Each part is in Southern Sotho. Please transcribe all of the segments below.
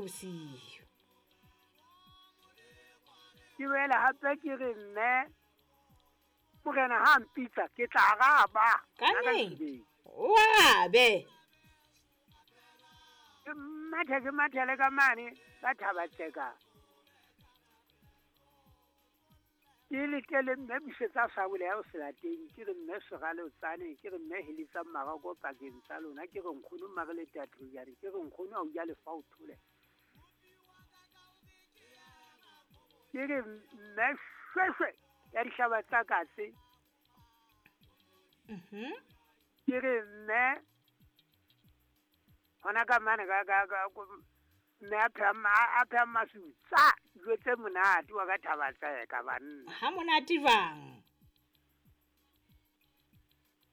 bosiu. Ke boela hape ke re mme morena ha mpitsa ke tla araba. Ka nnete. O arabe. Ke mathe ke mathele ka mane ka Thaba-Tseka. Ke letele mme busetsa sabole ya ho selateng, ke re mme Serale o tsane, ke re mme heletsang marako pakeng tsa lona, ke re nkgono mare le tathojane, ke re nkgono ha o ja lefa o thole. Ke re mme shweshwe ya dihlaba tsa katse. Ke re mme hona ka mane ka mme a pheha masutsa dijo tse monate wa ka Thaba-Tseka banna. Ha monate jwang?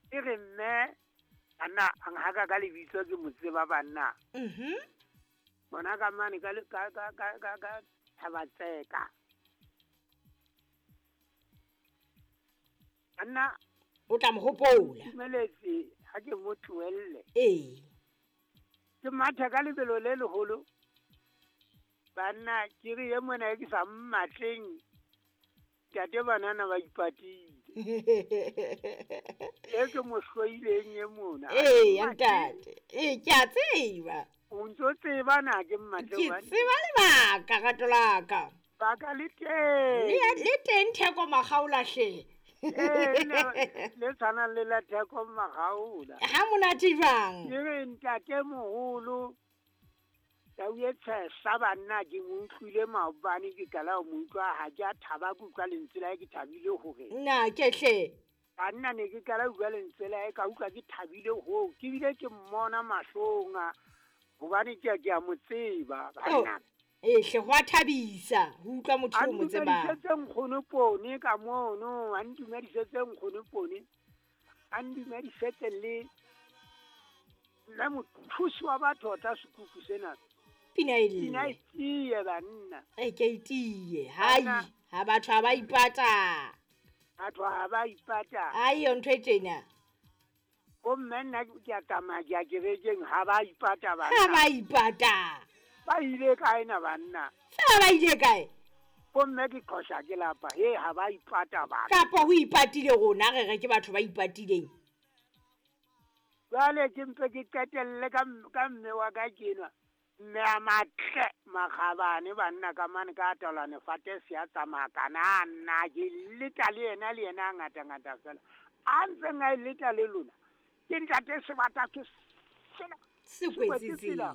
Ke re mme banna a nhaka ka lebitso ke mo tseba banna. Hona ka mane ka Thaba-Tseka. Banna o tla mo hopola. Dumeletse ha ke mo tlohelle. Ee. Ke matha ka lebelo le leholo. Banna ke re e mona e ke sa mmatleng. Ntate banana ba ipatile. E ke mo hloileng e mona. Ee, ntate. Ee, ke a tseba. O ntso tseba na ke mmatleng wa. Ke tseba lebaka rato la ka. Baka le teng. Le teng Theko Makgaola hle. Ee, le tshwanang le la Theko Makgaola. Ha monate jwang? Ke re ntate moholo tau e tshehla banna ke mo utlwile maobane ke qala ho mo utlwa ha ke a thaba ke utlwa lentswe la hae ke thabile hore. Nna ke hle. Banna ne ke qala ho utlwa lentswe la hae ka utlwa ke thabile hoo ke bile ke mmona mahlong hobane ke a mo tseba banna. Ee hle ho a thabisa ho utlwa motho o mo tsebang. A ntumedisetse nkgono Pone ka mono, a ntumedisetse nkgono Pone. A ntumedisetse le mme mothusi wa batho o tla sekuku sena. Pina e lle. Pina e tiye banna. E ke e tiye. Hai, ha batho ha ba ipata. Batho ha ba ipata. Ai yo ntho e tjena. Bo mme nna ke a tsamaya ke ya kerekeng ha ba ipata banna. Ha ba ipata. Ba ile kae na banna? Fela ba ile kae? Bo mme ke qosha ke lapa. He ha ba ipata banna. Kapa ho ipatile rona re re ke batho ba ipatileng. Jwale ke mpe ke qetelle ka mme wa ka kenwa. Mme a matle makgabane banna ka mane ka tolane fate se a tsamaya kana nna ke leta le yena a ngata ngata fela. A ntseng a leta le lona. Ke ntate sebata ke sena sekwetse tsela.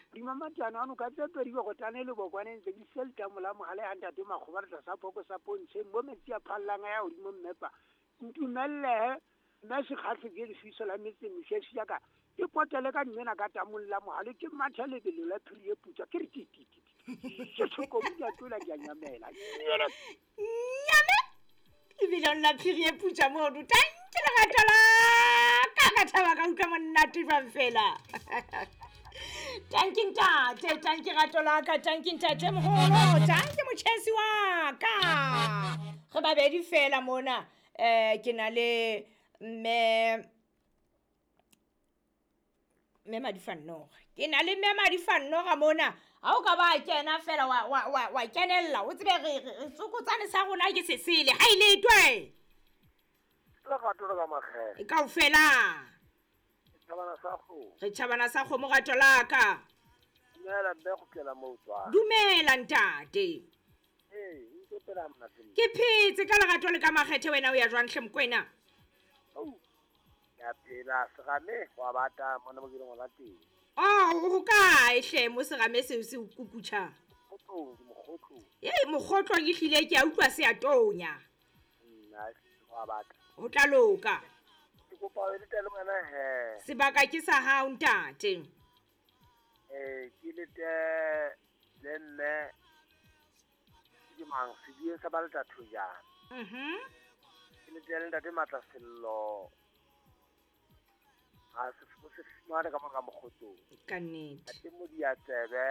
Dimamatiana ano ka tse pedi go tane le bokwane ntse di selta mola mogale a ntate makgoba re tlasa phoko sa pontsheng mo metsi a phallang a ya hodimo mmepa. Ntumelle mme sekgatlhe ke lefiso la metse mešeši ya ka. Ke potele ka mmena ka tamolla mohale ke matha lebelo la phiri e putswa ke re ti ti ti. Ke tshokomo ke a tlola ke a nyamela. Nyame. Lebelong la phiri e putswa mono. Tanki lerato la ka thaba ka utlwa monate jwang fela. Tanki ntate, tanki rato la ka, tanki ntate moholo, tanki motjhesi wa ka. Re babedi fela mona. Ke na le mme Madifannoga. Ke na le mme Madifannoga mona. Ha o ka ba kena fela wa kenella o tsebe re tsokotsane sa rona ke sesele. Ha ile twe. Lerato la makgele. Kaofela. Tjhabana sa kgomo. Re tjhabana sa kgomo rato la ka. Dumela mme go kela mo tswa. Dumela ntate. Ee, ntse pela monate. Ke phetse ka lerato le ka makgethe wena o ya jwang hle mokwena? Oh. Ya phela serame wa bata mona mo ke leng hona teng. Oh, ho kae hle mo serame seo se kukutjha? Mokgotlong, mokgotlong. Ee, mokgotlong e hlile ke a utlwa se a tonya. Nna wa batla. Ho tla loka. Ke kopa o lete le wena he. Sebaka ke sa hao ntate. Ke lete le mme ke mang sedie sa ba leta thojana. Ke lete le ntate Matla Sello. Ha se fumane ka mora mokgotlong. Ka nnete. Ate Modiatsebe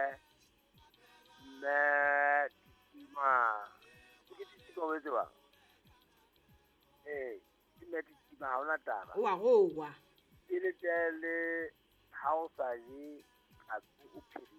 mme Titima. Ke Titima o tseba? Ee, ke mme Titima ha ona taba. O a rowa. Ke lete le ha o sa je tlhapi o phiri.